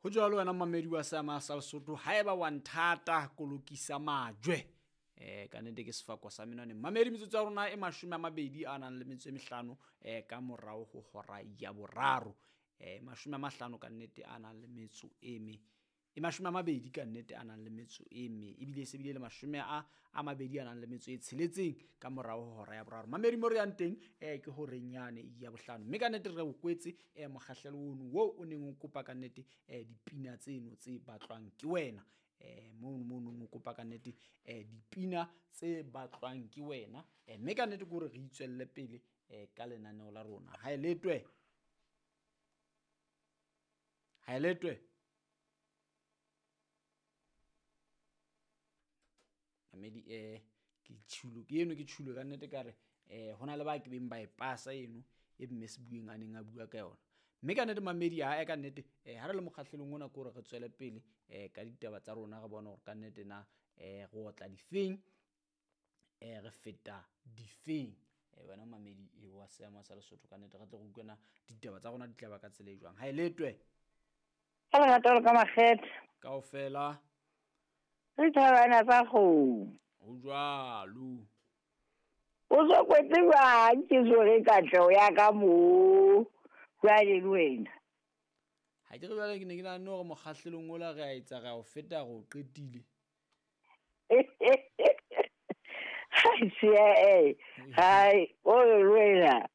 Ho jwalo wena mamedi wa seama sa Lesotho, haeba wa nthata kolokisa majwe. Ka nnete ke sefako sa menwaneng. Mamedi, metsotso ya rona e 25 a nang le metso e mehlano ka morao ho hora ya boraro. 50 ka nnete a nang le metso e me. E 20 ka nnete a nang le metso e me. Ebile se bile le 20 a nang le metso e tsheletseng ka morao ho hora ya boraro. Mamedi, mo re yang teng ke horeng yane ya bohlano. Mme ka nnete re o kwetse mokgahlelo ono wo o neng o kopa ka nnete dipina tseno tse batlwang ke wena. Mono o kopa ka nnete dipina tse batlwang ke wena. Mme ka nnete ke hore re itswelle pele ka lenaneo la rona. Ha e letwe. Ha e letwe. Mamedi, ke tjhulo ke eno, ke tjhulo ka nnete ka re hona le ba ke beng ba e pasa eno e mme Sebueng a neng a bua ka yona. Mme ka nnete mamedi, ha ka nnete ha re le mokgahlelong ona ke hore re tswele pele ka ditaba tsa rona, re bone hore ka nnete na re otla difeng, re feta difeng. Wena mamedi wa seama sa Lesotho, ka nnete re tle re utlwe na ditaba tsa rona di tla ba ka tsela e jwang. Ha e letwe. Ka lerato le ka makgethe. Kaofela. Re thabana tsa kgomo. Ho jwalo. O so kwetse jwang ke so re katleho ya ka mo jwale le wena? Ha ke re jwale ke ne ke nahane hore mokgahlelong ola re a etsa, re a o feta, re o qetile. Hai, hai, o re wena.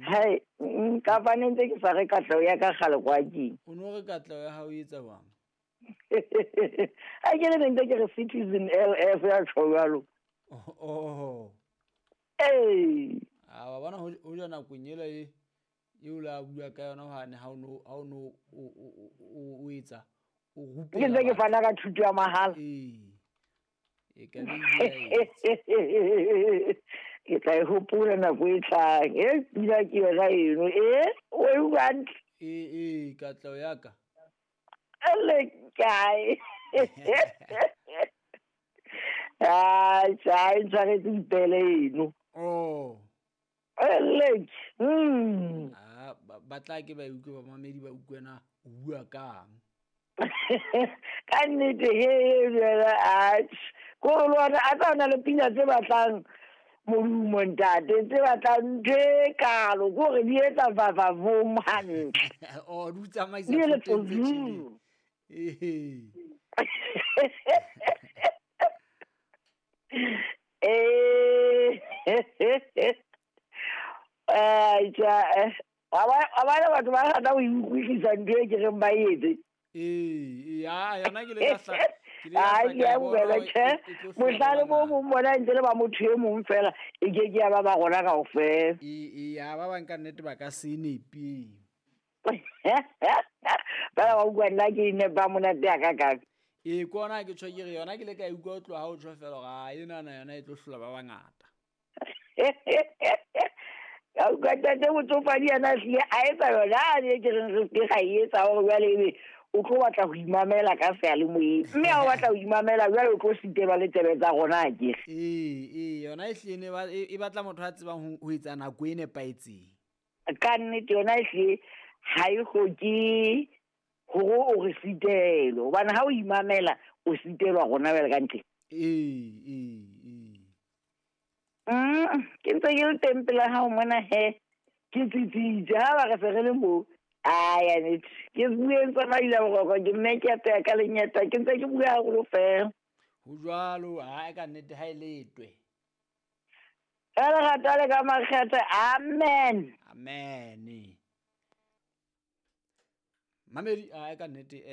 Hai, nka ne ntse ke sa re katleho ya ka kgale kwa keng. O no re katleho ya hao e etsa jwang? Ha ke re ne ntse ke re Citizen LF ya tjho jwalo. Oh. Ee. A wa bona ho ja nakong ela e eo la bua ka yona hane ha o no o etsa o rupela. Ke ntse ke fana ka thuto ya mahala. Ee. E ka be ke tla e hopola nako e tlang. E pina ke yona eno. E o e utlwa hantle? Ee, katleho ya ka. Ele kae? Ai, tjha, e ntshwaretse dipele eno. Oh. Ele. Ah, ba tla ke ba utlwe, ba mamedi ba utlwe na o bua kang. Ka nnete he jwale, atjhe. Ko re lona a tla na le pina tse batlang modumo ntate, tse batlang ntho e kalo, ko re di etsa vavavom hantle. Oh, di tsamaisa Di le thoteng tse tsozu. tjheleng. Ehe. Tjha, wa bona batho ba rata ho utlwisisa ntho e ke reng ba etse. Ee, ya, yona ke le ka hla, ke le ka Ai, hla ke a ka bona utlwela, hore tjhe. e tlo hlola Mohlale bo bana. mong bona ntse le ba motho e mong fela, e ke ke ya ba ba rona kaofela. Ee, ya, ba bang ka nnete ba ka se nepe. Ba ba utlwa nna ke nepa monate ya ka kang. Ee, ke ona ke tjho ke re yona ke le ka e utlwa ho tloha ha o tjho fela hore, ah, enana yona e tlo hlola ba bangata. Ka utlwa ntate motsofadi yena a hlile a etsa yona, a ne ke reng re se ke ra e etsa hore jwale ebe o tlo batla ho imamela ka seyalemoyeng. Mme ha o batla ho imamela jwale o tlo sitelwa le tsebe tsa rona akere. Ee, ee, yona e hlile e batla motho a tsebang ho etsa nako e nepahetseng. Ka nnete yona e hlile ha e hloke hore o re sitelwe, hobane ha o imamela o sitelwa rona jwale ka ntle. Ee, ee, ee. Ke ntse ke le teng pela hao mona he, ke tsitsitse ha ba re se re le moo. Ai, ya nnete. Ke bueng tsa maila boroko, ke mme ke apeya ka lenyeta, ke ntse ke bua haholo fela. Ho jwalo, ha ka nnete ha e letwe. Ka lerato le ka makgethe, amen. Amen. Mamedi, ha ka nnete,